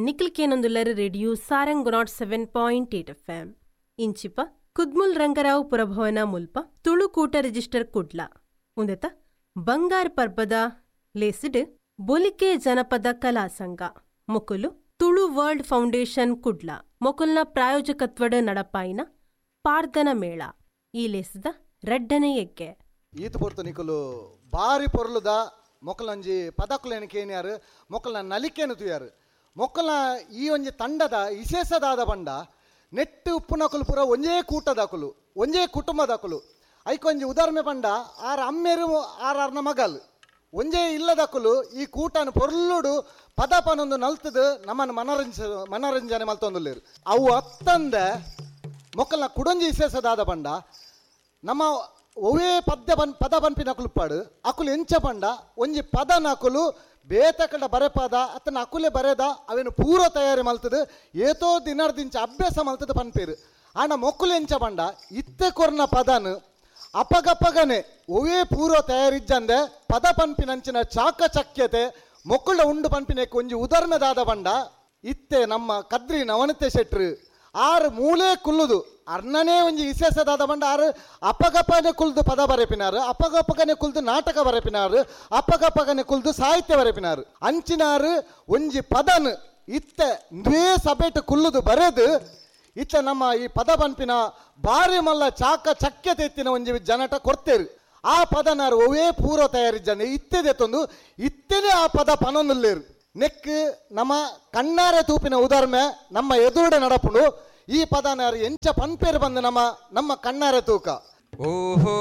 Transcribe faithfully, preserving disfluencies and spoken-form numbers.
Nikhil ಕೇನೊಂದುಲ್ಲರ್ radio Sarang nought seven point eight F M. ಇಂಚಿಪ Kudmul Ranga Rao ಪುರಭವನ ಮುಲ್ಪ ತುಳುಕೂಟ register Kudla ಉಂದೆತ ಬಂಗಾರ್ ಪರ್ಬದ ಲೇಸಿಡ್ ಬೊಲಿಕೆ ಜನಪದ ಕಲಾ ಸಂಘ ಮೊಕುಲು ತುಳು ವರ್ಲ್ಡ್ ಫೌಂಡೇಶನ್ ಕುಡ್ಲ ಮೊಕುಲ್ನ ಪ್ರಾಯೋಜಕತ್ವಡ್ ನಡಪಾಯಿನ ಪಾರ್ದನ ಮೇಳ ಈ ಲೇಸದ ರಡ್ಡನೆ ಎಗ್ಗೆ. ಈತ ಪೊರ್ತು ನಿಕುಲು ಬಾರಿ ಪೊರ್ಲುದ ಮೊಕಲಂಜಿ ಪದಕುಲೇನು ಕೇನ್ಯಾರು, ಮೊಕಲ್ನ ನಲಿಕೆನು ತುಯಾರು. ಮೊಕ್ಕಲ್ನ ಈ ಒಂಜಿ ತಂಡದ ವಿಶೇಷದಾದ ಬಂಡ ನೆಟ್ಟು ಉಪ್ಪುನಕುಲು ಪೂರ ಒಂಜೇ ಕೂಟದಕುಲು, ಒಂಜೇ ಕುಟುಂಬದಕುಲು. ಐಕೊಂಜಿ ಉದಾಹರಣೆ ಪಂಡ ಆರ್ ಅಮ್ಮೇರು ಆರ್ ಆರ್ನ ಮಗಲ್ ಒಂಜೇ ಇಲ್ಲದಕುಲು ಈ ಕೂಟನ ಪೊರ್ಲುಡು ಪದ ಪನೊಂದು ನಲ್ತದು ನಮ್ಮನ್ನು ಮನರಂಜ ಮನರಂಜನೆ ಮಲ್ತೊಂದುಲ್ಲೇರು. ಅವು ಅತ್ತಂದೆ ಮೊಕ್ಕಲ್ನ ಕುಡೊಂಜಿ ವಿಶೇಷದಾದ ಪಂಡ ನಮ್ಮ ಒವೇ ಪದ್ಯ ಬನ್ ಪದ ಪನ್ಪಿನಕುಲು ಪಾಡು ಅಕುಲು ಎಂಚ ಪಂಡ ಒಂಜಿ ಪದನಕುಲು ಬೇತಕಂಡ ಬರೆಪದ ಅತ್ತನ ಅಕುಲೆ ಬರೆದ ಅವೇನು ಪೂರ್ವ ತಯಾರಿ ಮಲ್ತದು ಏತೋ ದಿನರ್ದಿಂಚ ಅಭ್ಯಾಸ ಮಲ್ತದು ಪನ್ಪೇರು. ಆಂಡ ಮೊಕ್ಕುಲು ಎಂಚ ಪಂಡ ಇತ್ತೆ ಕೊರ್ನ ಪದನು ಅಪಗಪಗನೆ ಒವೇ ಪೂರ್ವ ತಯಾರಿಜ್ಜಂದೆ ಪದ ಪನ್ಪಿನಂಚಿನ ಚಾಕಚಕ್ಯತೆ ಮೊಕ್ಕುಳ ಉಂಡು ಪನ್ಪಿನಕ್ಕೆ ಒಂಜಿ ಉದಾಹರಣೆದಾದ ಪಂಡ ಇತ್ತೆ ನಮ್ಮ ಕದ್ರಿ ನವನತೆ ಶೆಟ್ರು ಆರು ಮೂಲೆ ಕುಲ್ಲುದು ಅರ್ಣನೇ ಒಂಜಿ ವಿಶೇಷದಾದ ಬಂಡ ಆರು ಅಪಗಪನೆ ಕುಲ್ದು ಪದ ಬರೆಪಿನಾರು, ಅಪಗಪಗನೆ ಕುಲ್ದು ನಾಟಕ ಬರೆಪಿನಾರು, ಅಪಗಪಗನೆ ಕುಲ್ದು ಸಾಹಿತ್ಯ ಬರೆಪಿನಾರು. ಅಂಚಿನಾರು ಒಂಜಿ ಪದನು ಇತ್ತೆ ದ್ವೇ ಸಭೆಟ್ ಕುಲ್ಲುದು ಬರೆದು ಇತ್ತ ನಮ್ಮ ಈ ಪದ ಪನ್ಪಿನ ಬಾರಿ ಮಲ್ಲ ಚಾಕ ಚಕ್ಯತೆ ಇತ್ತಿನ ಒಂಜಿ ಜನಟ ಕೊಡ್ತೇರು. ಆ ಪದನಾರು ಒವೇ ಪೂರ್ವ ತಯಾರಿಜ್ಜಂದೆ ಇತ್ತೆದೆ ತಂದು ಇತ್ತೇನೆ ಆ ಪದ ಪನೊಂದುಲ್ಲೇರು. ನೆಕ್ ನಮ್ಮ ಕಣ್ಣಾರೆ ತೂಪಿನ ಉದಾಹರಣೆ ನಮ್ಮ ಎದುರುಡೆ ನಡಪುಂಡು. ಈ ಪದನಾರು ಎಂಚ ಪನ್ಪೇರು ಬಂದು ನಮ್ಮ ನಮ್ಮ ಕಣ್ಣಾರೆ ತೂಕ. ಓಹೋ.